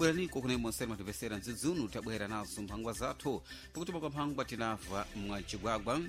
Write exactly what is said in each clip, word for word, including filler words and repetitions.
Bweraniko kunemwe nseri matipesera mdzidzunu, tabwera nazo mphangwa zathu. Pakuti kwa mphangwa tinabva mwacigwagwa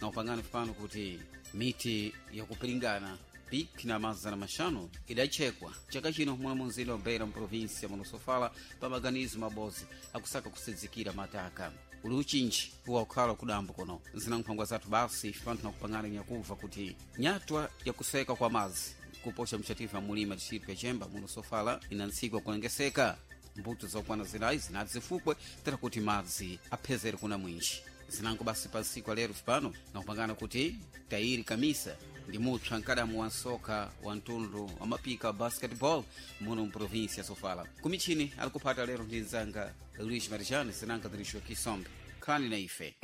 na upangani pano kuti miti yakupiringana pik na mazana maxanu idachekwa chaka chino mwa munzinda wa Beira mprovinsia munosofala pa maganizo mabodzi akusaka kusidzikira mataka uli uchinji wakukhala kudambo kuno. Zina nkhwangwa zathu basi pano tinakupangana nyakubva kuti nyatwa yakuseka kwa madzi kuposha mchatifu amulima distritu ya Chemba munosofala ina ntsiku yakulengeseka mbuto zokwana zinayi zinati zifukwe tera kuti madzi aphezere kuna mwinji. Zinango basi pa ntsiku alero pano nakupangana kuti Tairi Kamisa ndi mutswa mkadamu wa nsoka wa mtundu wa mapika wa basketball muno mprovinsia ya Sofala. Kumichini alikuphata lero ndi mzanga Luis Marijani, zinanga zirisho Kisombe. Khalani na ife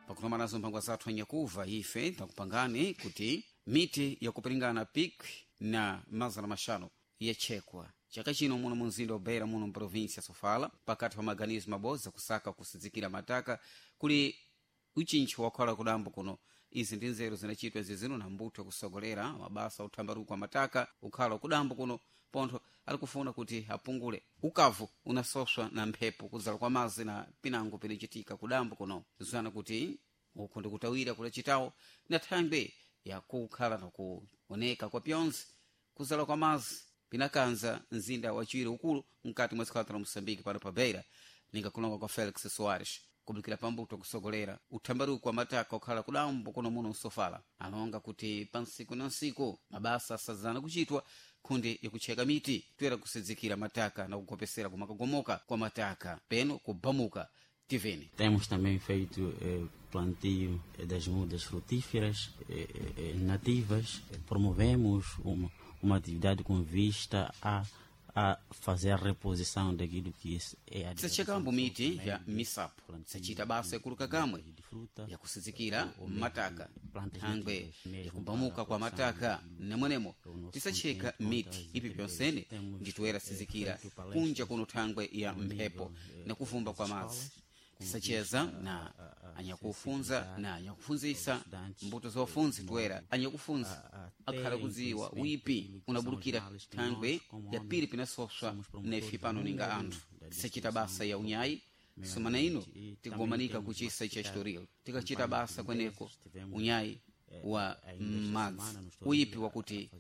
pakunomana nazo mphangwa zathu anyakuva. Ife takupangani kuti miti yakupiringana pik na mazana maxanu yachekwa chaka chino muno munzinda wa Beira muno mprovinsia Sofala pakati pa maganizo mabodzi kusaka kusidzikira mataka kuli uchintchi wakhala kudambo kuno. Izi ndi nzeru zinachitwa zizino na mbuto yakusogolera mabasa uthambaruko wa mataka ukhala kudambo kuno, pontho alikufuna kuti apungule ukavu unasoswa na mphepo kudzala kwa madzi na pinango pinachitika kudambo kuno. Zana kuti uku ndikutawira kulachitawo na thangwe yakukhala nakuoneka kwa pyonse kuzala kwa madzi pinakanza mzinda wachiwiri ukulu mkati mwa dziko la Moçambique pano pa Beira, ningakulonga kwa Felix Soares kubukira pambuto kusogolera uthambaruko wa mataka okhala kudambo kuno muno msofala. Alonga kuti pa nsiku na nsiku mabasa asadzana kuchitwa khundi yakucheka miti toyera kusidzikira mataka na kugopesera kumakagomoka kwa mataka peno kubamuka tiveni. Temos também feito eh, plantio das mudas frutíferas eh, eh, nativas. Promovemos uma, uma atividade com vista a, a fazer a reposição daquilo que é a Tisachekamo miti ya misapo, tisachita basa yakuluka kamwe yakusidzikira mataka thangwe yakubamuka kwa mataka nemwenemo tisacheka miti ipi pyonsene nditoyera sizikira kunja kuno thangwe ya mphepo nakuvumba kwa madzi. Tisacheza na anyakufunza na anyakufunzisa mbuto zofunzi toera anyakufunza akhala kudziwa wipi unabulukira thangwe ya pili pinasoswa nefi pano ninga anthu. Tisachita basa ya unyayi sumana ino tikugomanika kuchisa cha historia tikachita basa kweneko unyayi wa madzi uyipi wakuti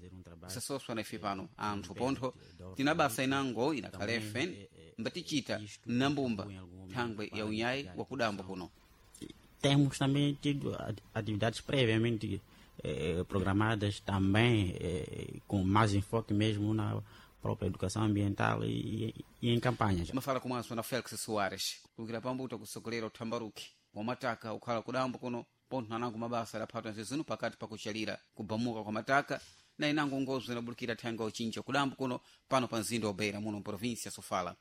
usasoswa na ife pano anthu, pontho tina basa inango inakhalefe mbatichita nambumba thangwe ya unyayi wakudambo kuno. Temos também tido atividades previamente eh, programadas também eh, com mais enfoque mesmo na própria educação ambiental e, e, e em campanhas. Mafala komanso na Felix Soares kulukira pambuto kusogolera uthambaruki wa mataka ukhala kudambo kuno, pontho nanango mabasa adaphatwa nzizino pakati pakuchalira kubamuka kwa mataka na inango ngozo inabulukira thangwe uchinja kudambo kuno pano pa mzinda wa Beira muno mprovinsia Sofala.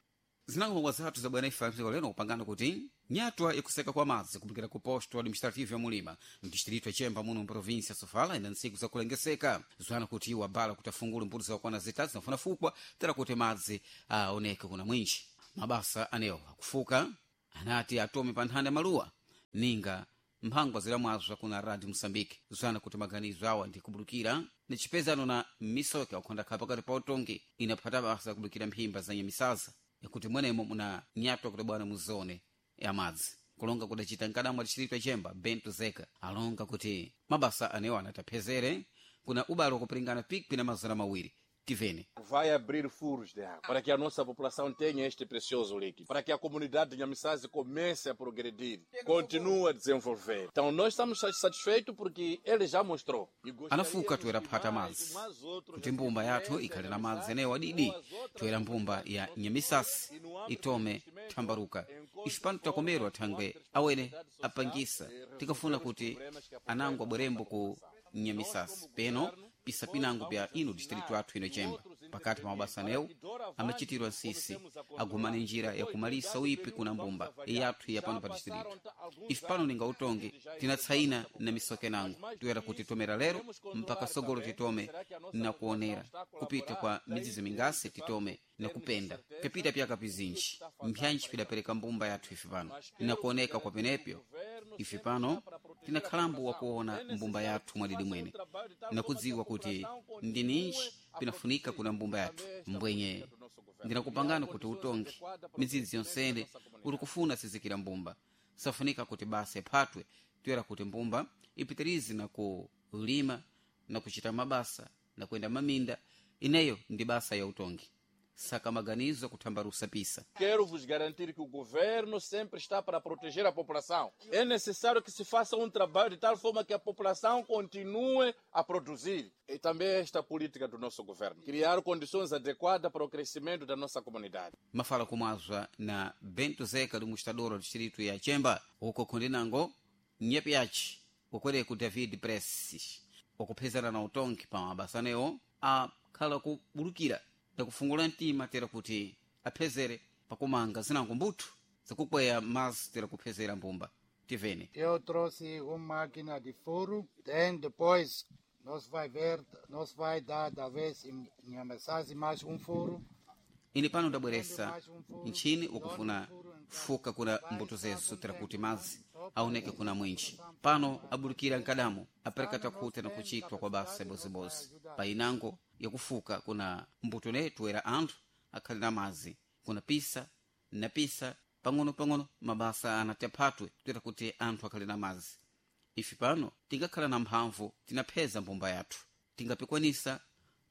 Zinango zathu za bwana ife mdziko lero kupangana kuti nyatwa yakuseka kwa madzi kubulukira ku posto administrativo ya Mulima mdistrito ya Chemba muno mprovinsia Sofala ina ntsiku zakulengeseka. Zwana kuti iwo abala kuti afungule mbuto zakwana zitatu zinafuna fukwa tera kuti madzi aoneke kuna mwinji. Mabasa anewo akufuka anati atome pa nthanda maluwa ninga mphangwa zilamwazwa kuna Radio Moçambique. Zwana kuti maganizo awa ndi kubulukira ni chipezano na misoka ukhondakhala pakati pa utongi inaphata basa kubulukira mphimba za nyamisaza yakuti mwenemo muna nyatwa kuti bwana muzone ya madzi. Kulonga kudacita mkadamu adiciritwa Chemba Bento Zeka alonga kuti mabasa anewo anataphezere kuna ubalo wakupiringana pikwi na mazana mawiri. Tivene. Vai abrir furos de água para que a nossa população tenha este precioso líquido, para que a comunidade de Nhamissase comece a progredir, continue a desenvolver. Então nós estamos satisfeitos porque ele já mostrou. Anafuka toera phata madzi kuti mbumba yathu ikhale na madzi enewo adidi, toera mbumba ya Nyamisasi itome thambaruka. Ife pano takomerwa thangwe awene apangisa tikafuna kuti anango abwerembo ku Nyamisasi peno pisa pinango pya ino distrito athu ino Chemba. Pakati pa mabasa anewo amachitirwa nsisi agumane njira yakumalisa uipi kuna mbumba yathu ya pano pa distrito. Ife pano ninga utongi tinatsaina na misoke nango toyera kuti tomera lero mpaka sogolo titome na kuonera kupita kwa midzizi mingasi titome na kupenda pepita pyaka pizinji mpyanji pidapereka mbumba yathu ife pano nakuoneka kwa penepyo. Ife pano tinakhalambo wakuona mbumba yathu mwadidi mwene nakudziwa kuti ndininji pinafunika kuna mbumba yathu mbwenye ndinakupangana kuti utongi midzidzi yonsene uri kufuna sizikira mbumba safunika kuti basa iphatwe toyera kuti mbumba ipitirize na kulima na kuchita mabasa na kuyenda maminda ineyo ndi basa ya utongi saka maganizo kuthambarusa pisa Quero vos garantir que o governo sempre está para proteger a população. É necessário que se faça um trabalho de tal forma que a população continue a produzir. E também esta política do nosso governo. Criar condições adequadas para o crescimento da nossa comunidade. Mafala kumazwa na Bento Zeka do mostrador do distrito ya Chemba uko kundinango nyepi yachi ukwere ku David Presses ukuphezana na utongi pa mabasanewo akhala kubulukira ndakufungula mtima tera kuti aphezere pakumanga zinango mbuthu zakukweya mazi tera kuphezera mbumba tivene. Eu trouxe uma máquina de furo, tem depois nós vai ver, nós vai dar talvez em Nhamessase mais um furo. Ine pano ndabweresa ntchini ukufuna fuka kuna mbuto zesu tera kuti mazi aoneke kuna mwinji pano abulukira nkadamo apereka takhuta na kuchitwa kwa basa ibozibodzi pa inango yakufuka kuna mbuto netu era anthu akhali na mazi kuna pisa na pisa pang'ono-pang'ono mabasa anati aphatwe toera kuti anthu akhali na mazi ife pano tingakhala na mphamvu tinapheza mbumba yathu tingapikwanisa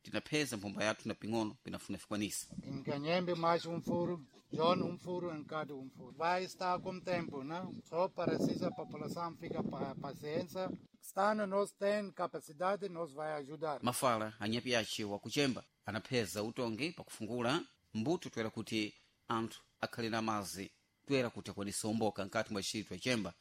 tinapheza mbumba yathu na ping'ono pinafuna fikwanisa. Em Canhembe mais um furo, John um furo, em cada um furo. Vai estar com tempo, não? Só precisa a população fica pa paciência. Estando nós tem capacidade, nós vai ajudar. Mafala anyapi aci wakuchemba anapheza utongi pakufungula mbuto toera kuti anthu akhale na mazi toera kuti akwanise umboka nkati mwa distrito ya Chemba.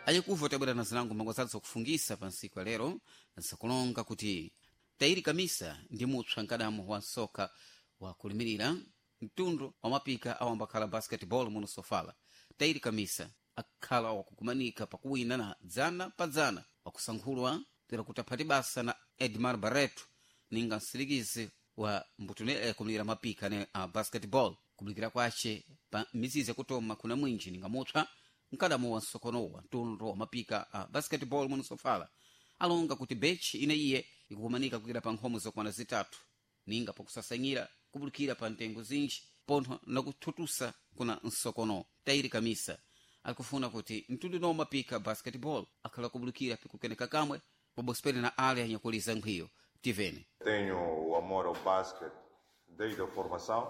Ayikuva tabwera na zinango mbango zathu zakufungisa pa ntsiku ya lero zakulonga kuti Tairi Kamisa ndi mupsa nkadamo wa nsoka wakulimirira mtundu wa mapika awambakhala basketball muno Sofala. Tairi Kamisa akhala wakukumanika pakuwina na dzana pa dzana wakusankhulwa tera kuti aphati basa na Edmar Barreto ninga msilikizi wa mbuto yakumirira mapika ne a basketball kubulukira kwace pa mizizi yakutoma kuna mwinji ninga mupsa mkadamo wa nsokonowa mtundu wa mapika a basketball muno Sofala alonga kuti bechi ine iye ikukumanika kukira pa nkhomo zokwana zitatu ninga pakusasanyira kubulukira pa ntengo zinji pontho nakuthutusa kuna nsokono. Tairi Kamisa akufuna kuti mtundu uno mapika basketball akhala kubulukira pikukeneka kamwe pabosipene na ale anyakuliza nkhwiyo tivene. Tenho o amor ao basquete desde a formação,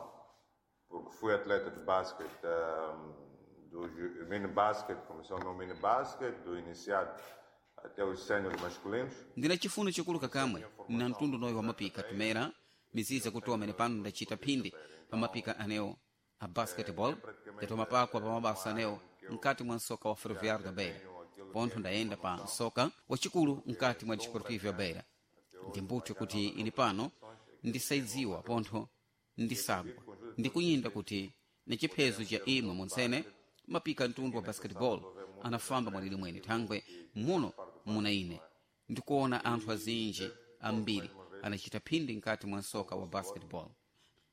porque fui atleta de basquete, um, do ju- mini basquete, começou o meu mini basquete, do iniciado até os séniores masculinos. Ndina chifuno chikuluka kamwe na mtundu unoyo wa mapika tumera mizizi yakutowa ine pano ndachita phindi pa mapika anewo a basketball ndatoma pakwa pa mabasa anewo mkati mwa nsoka wa Ferroviário da Beira pontho ndayenda pa nsoka wachikulu mkati mwa Desportivo ya Beira. Ndi mbuto kuti ine pano ndisaidziwa pontho ndisagwa ndikunyinda kuti ni chiphezo cha imwe montsene mapika mtundu wa basketball anafamba mwalili mwene thangwe muno muna ine ndikuona anthu azinji ambiri anachita phindi mkati mwa nsoka wa basketball.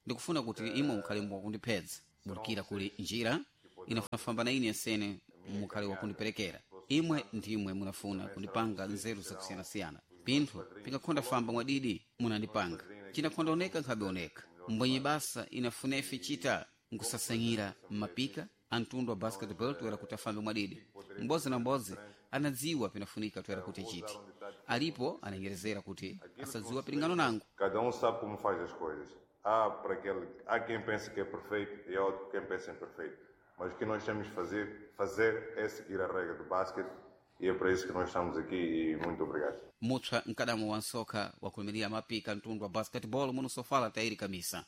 Ndikufuna kuti imwe mukhale wakundiphedza bulukira kuli njira inafamba na ine nsene mukhale wakundiperekera imwe ndimwe munafuna kundipanga nzeru zakusiyanasiyana pinthu pingakhonda famba mwadidi munandipanga cinakhonda oneka nkhabe oneka mbwenye basa inafunefe chita nkusasanyira mmapika a mtundu wa basketball toera kuti afambe mwadidi m'bodzi na m'bodzi anadziwa pinafunika toera kuti achite alipo ananyerezera kuti asadziwa pilingano nango. Cada um sabe como faz as coisas. Há, para aquele, há quem pense que é perfeito e há outro quem pensa imperfeito. Mas o que nós temos de fazer, fazer é seguir a regra do basquete e é para isso que nós estamos aqui e muito obrigado. Mupsa mkadamo wa nsoka wakulimirira mapika mtundu wa basketball muno Sofala Tairi Kamisa.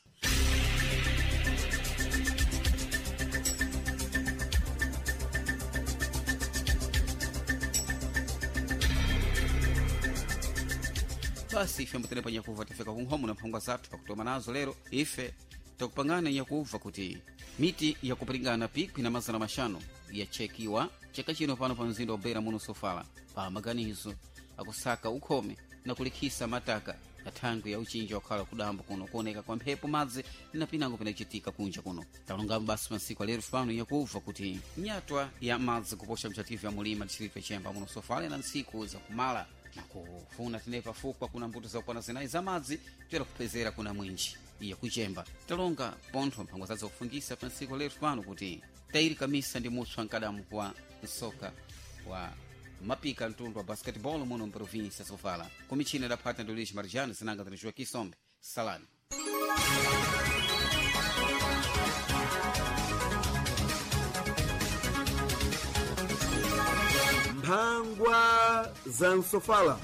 Basi ife ambotene pa nyakuva tafika kunkhomo na mphangwa zathu pakutoma nazo lero ife takupangana nyakuva kuti miti yakupiringana pikwi na mazana maxanu yachekiwa chaka chino pano pa mzinda wa Beira muno Sofala pa maganizo akusaka ukhome na kulikhisa mataka na thangwi ya uchinji wakhala kudamba kuno kuoneka kwa mphepo madzi na pinango pinachitika kunja kuno. Talongapo basi masiku alero pano yakuva kuti nyatwa ya madzi kuposha mchativu ya mulima distrito ya Chemba muno Sofala na ntsiku zakumala Na kufuna tinepa fukwa kuna mbuto zakwana zinayi za madzi toyera kupezera kuna mwinji iye kuchemba. Talonga pontho mphango zazo kufungisa pa ntsiku letu pano kuti tayiri kamisa ndi mutswa mkadamu wa msoka wa mapika mtundu wa basketball muno mprovinsia Sofala. Kumichina idaphata ndi Luis Marjano zinanga zinaciwa Kisombe. Salani. Mphangwa za msofala.